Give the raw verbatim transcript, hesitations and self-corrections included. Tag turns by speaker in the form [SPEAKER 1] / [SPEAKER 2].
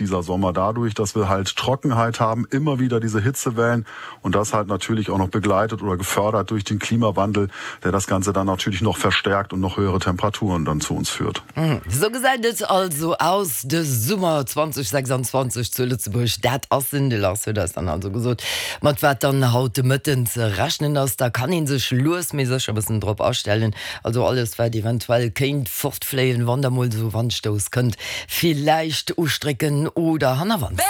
[SPEAKER 1] Dieser Sommer dadurch, dass wir halt Trockenheit haben, immer wieder diese Hitzewellen und das halt natürlich auch noch begleitet oder gefördert durch den Klimawandel, der das Ganze dann natürlich noch verstärkt und noch höhere Temperaturen dann zu uns führt.
[SPEAKER 2] Mhm. Sou gesäit et also aus de Summer zweitausendsechsundzwanzeg zu Lëtzebuerg. Dat ass en, de Lars huet eis dann also gesot, mat wat dann haut de Mëtten ze rechnen ass. Da kann een sech lues mee sécher e bëssen drop astellen. Also alles wat eventuell kéint fortfléien, wann da mol sou Wandstouss kënnt, villäicht ustrécken oder hannerwands.